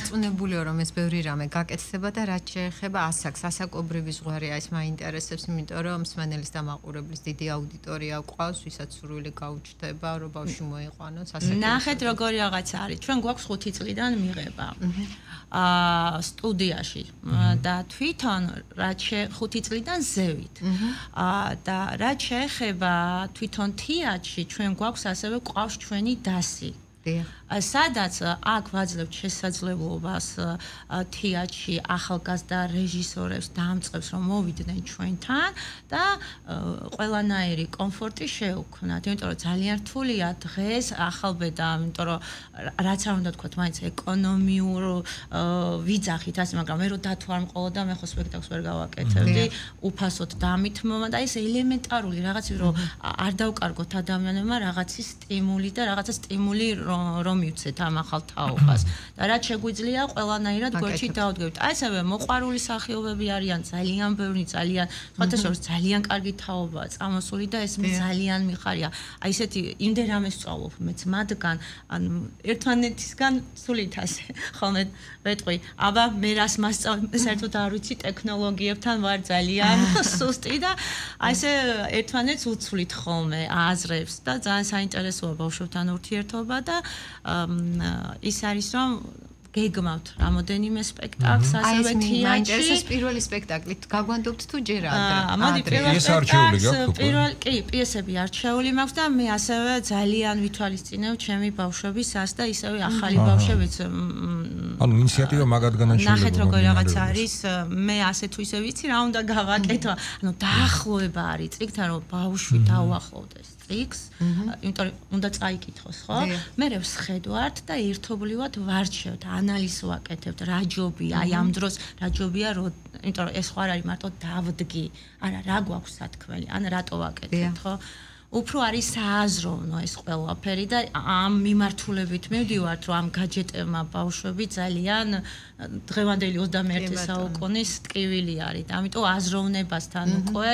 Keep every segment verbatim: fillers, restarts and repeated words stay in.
დარწმუნებულიო რომ ეს ბევრი რამე გაკეთდება და რაც შეეხება ასაკს, ასაკობრივი ზღვარი ეს მაინტერესებს, იმიტომ რომ მსმენელის და მაყურებლის დიდი აუდიტორია ყავს, ვისაც სურვილი გაუჩნდება, რომ ბავშვი მოიყვანოს ასაკი. ნახეთ როგორი რაღაცა არის. ჩვენ გვაქვს ხუთი წლიდან მიღება. აა სტუდიაში და თვითონ რაც ხუთი წლიდან ზევით. აა და რაც შეეხება თვითონ თეატრში ჩვენ გვაქვს ასევე ყავს ჩვენი დასი. სადაც აქ ვაძლევთ შესაძლებლობას თეატრში ახალგაზრდა რეჟისორებს დამწყებს რომ მოვიდნენ ჩვენთან და ყველანაირი კომფორტი შეუქმნათ. იმიტომ რომ ძალიან რთულია დღეს ახალბედა, იმიტომ რომ რაც არ უნდა თქვათ, მაინც ეკონომიურ ვიძახით ასე, მაგრამ მე რო დათო არ მყოლოდა, მე ხო სპექტაკლს ვერ გავაკეთებდი, უფასოდ დამithმობა და ეს ელემენტარული რაღაცები რომ არ დავკარგოთ ადამიანებმა რაღაცის სტიმული და რაღაცა სტიმული რომ მივცეთ ამ ახალ თაობას და რაც შეგვიძლია ყველანაირად გვერდში დავდგებით. აი ესევე მოყვარული სახეობები არიან ძალიან ბევრი, ძალიან სხვათა შორის ძალიან კარგი თაობაა წამოსული და ეს ძალიან მიხარია. აი ესეთი იმდენ რამეს სწავლობ მეც მათგან, ანუ ერთმანეთისგან სულით ასე ხოლმე ვეტყვი, აბა მე რას მასწავლებ, საერთოდ არ ვიცი, ტექნოლოგიებთან ვარ ძალიან სუსტი და აი ესე ერთმანეთს უცვლით ხოლმე აზრებს და ძალიან საინტერესოა ბავშვებთან ურთიერთობა და ის არის რომ გეგმავთ რამოდენიმე სპექტაკლს ასევე თეატრში. მაინტერესებს პირველი სპექტაკლი გაგვანდობთ თუ ჯერ ადრე? მოდი პირველი სპექტაკლს პირველ კი პიესები არჩეული მაქვს და მე ასევე ძალიან ვითვალისწინებ ჩემი ბავშვებისას და ისევე ახალი ბავშვებიც. ანუ ინიციატივა მაგად განაშენდება. ნახეთ როგორი რაღაც არის, მე ასე თუ ისე ვიცი რა უნდა გავაკეთო. ანუ დაახლოება არის წიგნთან რომ ბავშვი დაუახლოვდეს წიგნს, იმიტომ რომ უნდა წაიკითხოს, ხო? მე ვსხედვართ და ერთობლივად ვარჩევთ, ანალიზს ვაკეთებთ, რა ჯობია, აი ამ დროს რა ჯობია, იმიტომ რომ ეს ხო არ არის მარტო დავდგი, არა, რა გვაქვს სათქმელი, ან რატო ვაკეთებთ, ხო? უფრო არის სააზროვნო ეს ყველაფერი და ამ მიმართულებით მივდივართ, რომ ამ გაჯეტებმა ბავშვები ძალიან დღევანდელი ოცდამეერთე საუკუნის ტკივილი არის. ამიტომ აზროვნებასთან უკვე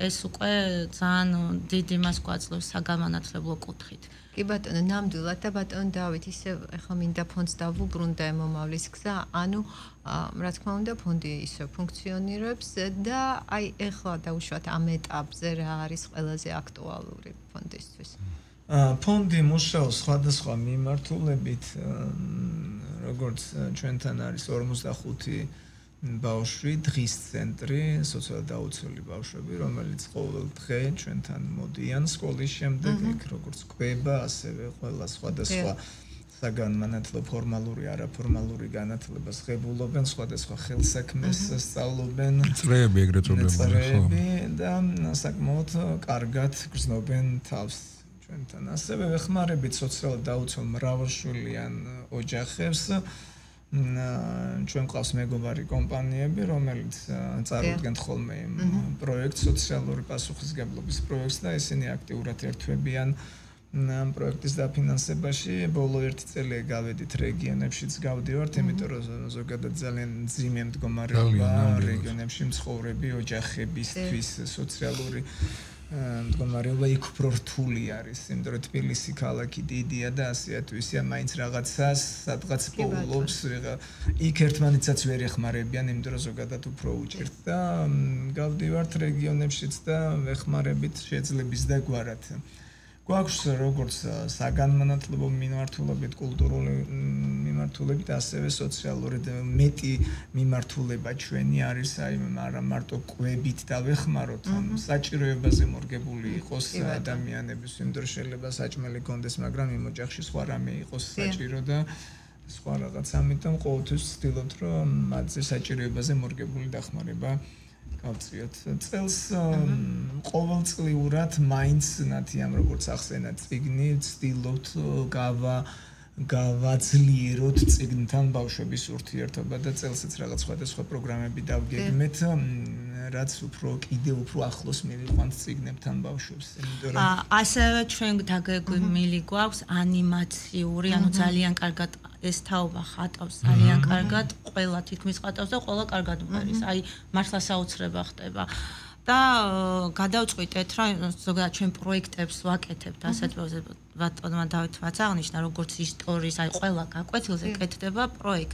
ეს უკვე ძალიან დიდ იმას გვაძლევს საგანმანათლებლო კუთხით. კი ბატონო, ნამდვილად და ბატონო დავით, ისე ახლა მინდა ფონდს დავუბრუნდა მომავლის გზა, ანუ რა თქმა უნდა ფონდი ისე ფუნქციონირებს და აი ახლა დაუშვათ ამ ეტაპზე რა არის ყველაზე აქტუალური ფონდისთვის? ფონდი მუშაობს სხვადასხვა მიმართულებით, როგორც ჩვენთან არის ორმოცდახუთი ბავშვი, დღის ცენტრი, სოციალურად დაუცველი ბავშვები, რომელიც ყოველ დღე ჩვენთან მოდიან სკოლის შემდეგ, იქ როგორც კვება, ასევე ყველა სხვადასხვა საგანმანათლებლო ფორმალური, არაფორმალური განათლებას ღებულობენ, სხვადასხვა ხელსაქმეს სწავლობენ, წრეები ეგრეთ წოდებული და საკმაოდ კარგად გრძნობენ თავს ჩვენთან. ასევე ვეხმარებით სოციალურად დაუცველ მრავალშვილიან ოჯახებს. ჩვენ ყავს მეგობარი კომპანიები, რომელიც წარმოადგენთ ხოლმე პროექტს, სოციალური პასუხისმგებლობის პროექტს და ისინი აქტიურად ერთვებიან ამ პროექტის დაფინანსებაში. ბოლო ერთი წელი გავედით რეგიონებშიც გავდივართ, იმიტომ რომ ზოგადად ძალიან მძიმე მდგომარეობაა რეგიონებში მცხოვრები ოჯახებისთვის სოციალური მდგომარეობა იქ უფრო რთული არის, იმიტომ რომ თბილისი ქალაქი დიდია და ასეა თუ ისეა, მაინც რაღაცას სადღაც პოულობს, იქ ერთმანეთსაც ვერ ეხმარებიან, იმიტომ რომ ზოგადად უფრო უჭირთ და გავდივართ რეგიონებშიც და ვეხმარებით შეძლების და გვარად. გვაქვს როგორც საგანმანათლებლო მიმართულებით, კულტურული მიმართულებით, ასევე სოციალური მეტი მიმართულება ჩვენი არის, აი არა მარტო კვებით დავეხმაროთ, საჭიროებაზე მორგებული იყოს ადამიანების, იმიტომ რომ შეიძლება საჭმელი კონდეს, მაგრამ იმ ოჯახში სხვა რამე იყოს საჭირო და სხვა რაღაც, ამიტომ ყოველთვის ვცდილობთ, რომ მათზე საჭიროებაზე მორგებული დახმარება გავწიოთ. წელს ყოველწლიურად მაინც ნათიამ როგორც ახსენა წიგნი, ვცდილობთ გავა გავაძლიეროთ წიგნთან ბავშვების ურთიერთობა და წელსაც რაღაც სხვადასხვა პროგრამები დავგეგმეთ, რაც უფრო კიდევ უფრო ახლოს მივიყვანთ წიგნებთან ბავშვებს. ასევე ჩვენ დაგეგმილი გვაქვს ანიმაციური, ანუ ძალიან კარგად ეს თაობა ხატავს, ძალიან კარგად, ყველა თითქმის ხატავს და ყველა კარგად მღერის. აი მართლა საოცრება ხდება. და გადავწყვიტეთ, რომ ზოგადად ჩვენ პროექტებს ვაკეთებთ, ასეთ ბატონმა დავით ვაც აღნიშნა, როგორც ისტორიის, აი ყველა გაკვეთილზე კეთდება პროექტი.